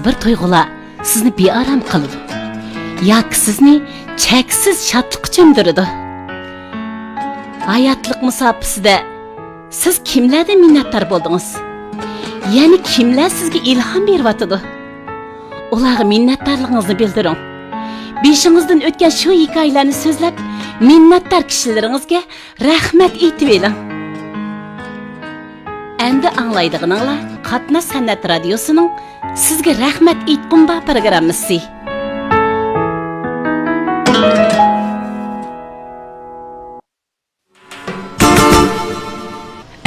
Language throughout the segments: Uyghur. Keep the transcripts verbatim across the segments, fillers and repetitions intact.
بىر تۇيغۇلار سىزنى بىئارام قىلىدۇ ياكى سىزنى چەكسىز شادلىققا چۆمدۈرىدۇ؟ ھاياتلىق مۇساپىسىدە سىز كىملەردىن مىننەتدار بولدىڭىز؟ يەنى كىملەر سىزگە ئىلھام بېرىۋاتىدۇ؟ ئۇلارغا مىننەتدارلىقىڭىزنى بىلدۈرۈڭ. بېشىڭىزدىن ئۆتكەن شۇ ھېكايىلەرنى سۆزلەپ، مىننەتدار كىشىلىرىڭىزگە رەھمەت ئېيتىۋېلىڭ. ئەمدى ئاڭلايدىغىنىڭلار قاتناش سەنئەت رادىيوسىنىڭ سىزگە رەھمەت ئېيتقۇم بار پروگراممىسى.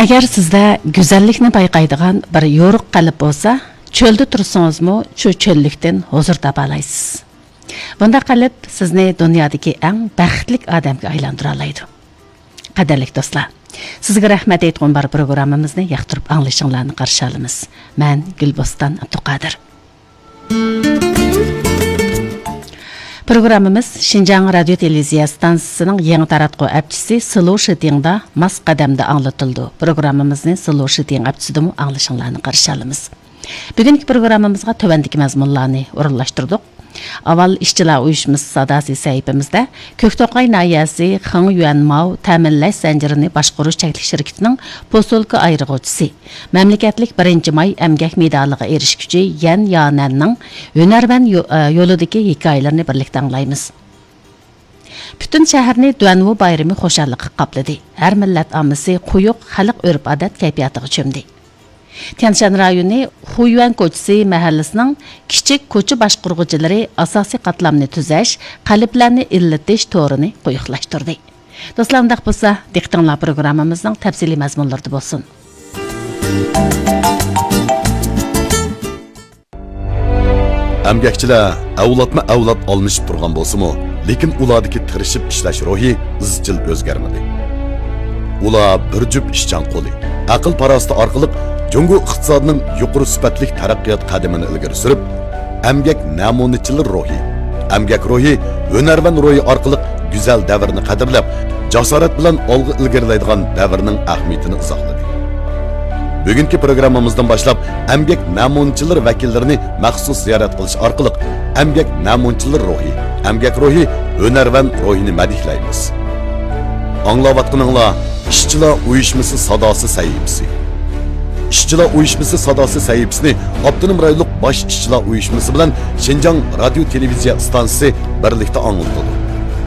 ئەگەر سىزدە گۈزەللىكنى بايقايدىغان بىر يورۇق قەلب بولسا، چۆلدە تۇرسىڭىزمۇ شۇ چۆللۈكتىن ھۇزۇر تاپالايسىز. بۇنداق قەلب سىزنى دۇنيادىكى ئەڭ بەختلىك ئادەمگە ئايلاندۇرالايدۇ. قەدىرلىك دوستلار، سىزگە رەھمەت ئېيتقۇم بار پروگراممىمىزنى ياقتۇرۇپ ئاڭلىشىڭلارنى قارشى ئالىمىز. مەن گۈلبوستان ئابدۇقادىر. پروگراممىمىز شىنجاڭ رادىيو تېلېۋىزىيە ئىستانسىسىنىڭ يېڭى تاراتقۇ ئەپچىسى سلو شىتىڭدا ماس قەدەمدە ئاڭلىتىلىدۇ. پروگراممىمىزنى سلو شىتىڭ ئەپچىسىدىمۇ ئاڭلىشىڭلارنى قارشى ئالىمىز. بۈگۈنكى پروگراممىمىزغا تۆۋەندىكى مەزمۇنلارنى ئورۇنلاشتۇردۇق. ئاۋۋال ئىشچىلار ئۇيۇشمىسى ساداسى سەھىپىمىزدە كۆكتوقاي ناھىيەسى خېڭيۈەنماۋ تەمىنلەش زەنجىرىنى باشقۇرۇش چەكلىك شىركىتىنىڭ پوسۇلكا ئايرىغۇچىسى، مەملىكەتلىك بىرىنچى ماي ئەمگەك مېدالىغا ئېرىشكۈچى يەن يانەننىڭ ھۈنەرۋەن يو-، ئە، يولىدىكى ھېكايىلىرىنى بىرلىكتە ئاڭلايمىز. پۈتۈن شەھەرنى دۇەنۋۇ بايرىمى خۇشاللىققا قاپلىدى. ھەر مىللەت ئاممىسى قويۇق خەلق ئۆرپ-ئادەت كەيپىياتىغا چۆمدى. تيەنشان رايونى خۇيۈەن كوچىسى مەھەللىسىنىڭ كىچىك كوچا باشقۇرغۇچىلىرى ئاساسىي قاتلامنى تۈزەش، قەلبلەرنى ئىللىتىش تورىنى قويۇقلاشتۇردى. دوستلار، ئۇنداق بولسا، دىققىتىڭلار پروگراممىمىزنىڭ تەپسىلىي مەزمۇنلىرىدا بولسۇن. ئەمگەكچىلەر ئەۋلادمۇ ئەۋلاد ئالمىشىپ تۇرغان بولسىمۇ، لېكىن ئۇلاردىكى تىرىشىپ ئىشلەش روھى ئىزچىل ئۆزگەرمىدى. ئۇلار بىر جۈپ ئىشچان قولى، ئەقىل-پاراسىتى ئارقىلىق جۇڭگو ئىقتىسادىنىڭ يۇقىرى سۈپەتلىك تەرەققىيات قەدىمىنى ئىلگىرى سۈرۈپ، ئەمگەك نەمۇنىچىلىرى روھى، ئەمگەك روھى، ھۈنەرۋەن روھى ئارقىلىق گۈزەل دەۋرنى قەدىرلەپ، جاسارەت بىلەن ئالغا ئىلگىرىلەيدىغان دەۋرنىڭ ئەھمىيىتىنى ئىزاھلىدى. بۈگۈنكى پروگراممىمىزدىن باشلاپ ئەمگەك نەمۇنىچىلىرى ۋەكىللىرىنى مەخسۇس زىيارەت قىلىش ئارقىلىق ئەمگەك نەمۇنىچىلىرى روھى، ئەمگەك روھى، ھۈنەرۋەن روھىنى مەدھىيلەيمىز. ئاڭلاۋاتقىنىڭلار ئىشچىلار ئۇيۇشمىسى ساداسى سەھىپىسى. ئىشچىلار ئۇيۇشمىسى ساداسى سەھىپىسىنى ئاپتونوم رايونلۇق باش ئىشچىلار ئۇيۇشمىسى بىلەن شىنجاڭ رادىيو تېلېۋىزىيە ئىستانسىسى بىرلىكتە ئاڭلىتىدۇ.